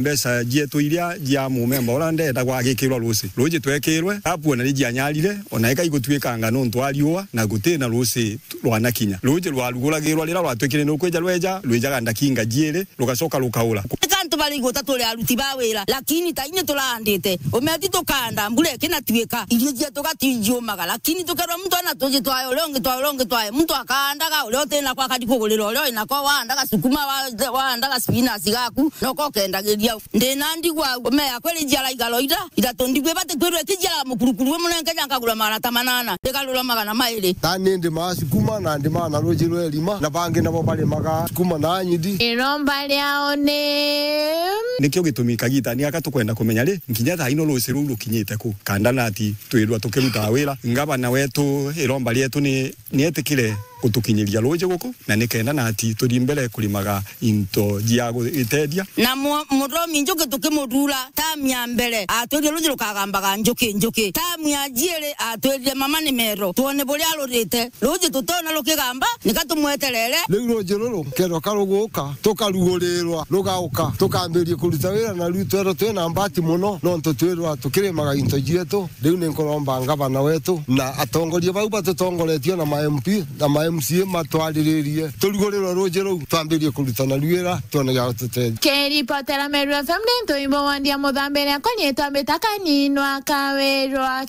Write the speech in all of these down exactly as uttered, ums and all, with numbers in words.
Mbeca cietu iria cia mumemba uria ndenda gwagikirwa ruuji. Ruuji twekirwe, apuona ni cianyarire, ona ika igutuikanga nontu wa riua, na guti na ruuji rwanakinya. Ruuji rwaruguragirwa riria rwatwikire ni rukwija rweja, rwijaga ndakinga jiiri, rugacoka rukaura. Ika antu bari igweta turi aruti ba wira, lakini ta ini turaandite. Umeti tukanda, mbura ikinatuika, irio cietu gatijiumaga, lakini tukerwa muntu ena tuji twae, uria ungi twae, uria ungi twae, muntu akaandaga, uria utina kwa akari kugurira uria wina ko, waandaga sukuma, wa-, waandaga spinach gaku, noko ukendagiria. Ndina ndigwa au, ume yakwa iri jiara igaro ira, ithatu ndigwa ibati kwirwa ikijiara mukurukuru umwe, nenge ja nkagura magana ta manana, igarurwa magana mairi. Tani ndimaa sukuma na ndimaa na ruuji rwa irima, na bangi nabo barimaga sukuma na nyidi. Iromba riao ni Nikio gitumi kagitani gaka tukwenda kumenya ri, nkinya thaa ino ruuji ruu rukinyite ku, kandana ati twirwa tukirutaa wira. Ngavana wetu, iromba rietu ni, nietikire gutukinyiria ruuji guku, na nikenda nati tuthi mbere kurimaga into cia gutethia. Na mu-, muthomi njuki tukimuthuura, tamu ya mbere atwirire ruuji rukagambaga njuki, njuki. Tamu ya jiiri atwirire mama ni mero, twone buria rurite. Ruuji tutona rukigamba, nika tumweterere. Riu ruuji ruru, kethirwa ka ruguka, tukarugurirwa, rugauka, tukambiria kuruta wira, na riu twerwa twina mbati mono, nontu twirwa tukirimaga into cietu. Riu ni nkuromba ngavana wetu na atongoria bau batutongoretie na ma M P na ma M C A matwariririe, turugurirwe ruuji ruu, twambirie kuruta naru wira, twone gia gututethia. Kiripotera Meru F M ni Ntuimbo wa Ndia Muthambire, akwa nyitwa Mbita Kaninwa Kawirwa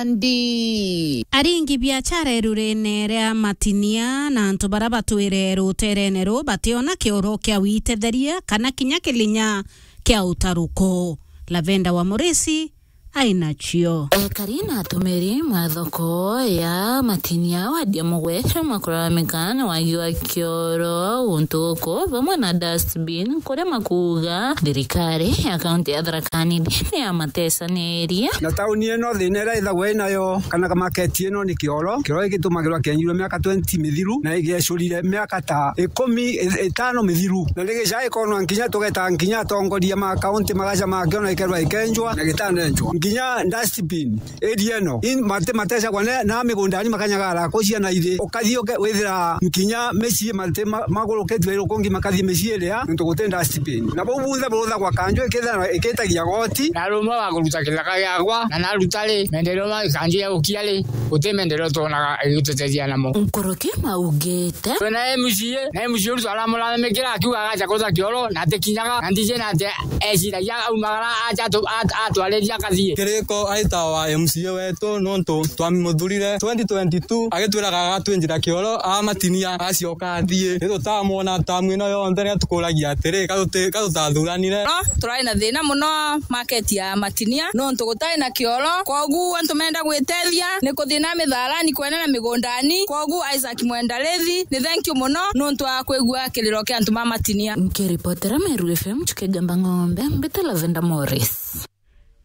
Kimandi. Aringi biachara irurene ria Matinia na antu bara batwire ruterene ruu bationa kioro kia witetheria kana kinya kilinya kia utaruko. Lavenda wa Murisi ainacio. Ekari na atumiri mwa thoko ya Matinia wadi ya Mugwete makuraramika ni wagi wa kioro guntu guku bamwe na dustbin, kuria makuuga thirikari ya kaunti ya Tharaka Nithi ni yamatesanirie. Na tauni ino thina iria ithagwa inayo kana maketi ino ni kioro. Kioro giki gitumagirwa kienjirwe miaka twenty mithiru na igecurire miaka ta ikumi i-, itano mithiru. Na ni gica ikonwa nkinya tugeta nkinya atongoria ma kaunti magaca makio na ikerwa ikenjwa na gitanenjwa. Nkinya dustbin area ino, in mate matecagwa ne, na migundani makanyagara kucia na ithi. Ukathi uke-, withira nkinya micii mate ma-, magurukitue irukungi makathi micii iria, nontu guti dustbin. Na bau bunthe buruthagwa kanju ikithira ikitagia goti. Na rumwe wa kuruta kithaka giakwa, na naruta ri, mendereo ma kanju ya gukia ri, guti mendereo twonaga igitutethia namo. Nkuruki maugite. Twina M C A, na M C A ucio aramurathimikira akiuga agacha kuruta kioro, na atikinyaga, na ndiji na ati eciragia aumagara acha atu-, at-, atwariria akathie. Kiriko aita wa M C A wetu, nontu twamimuthurire twenty twenty-two, agitwiraga agatwinjira kioro, amatinia, agacoka athie. Ni tutamwona tamu ino yonthe, ni atukuragia atiri, ka tuti-, ka tutathuranire? No, turari na thina muno market ya Matinia, nontu gutari na kioro, kwogu antu menda gwitethia, ni kuthina mitharani kwene na migundani, kwogu Isaac Mwendarithi, ni thank you muno, nontu wa kwigua kiriro kia antu ma Matinia. Nkiripotera Meru F M, Chuke Gamba Ng'ombe, mbite Lavenda Morris.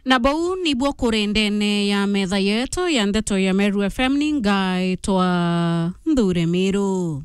Na bau nibuo kuri ndene ya metha yetu ya ndeto ya Meru F M, ni ngaitwa Nthure Miru.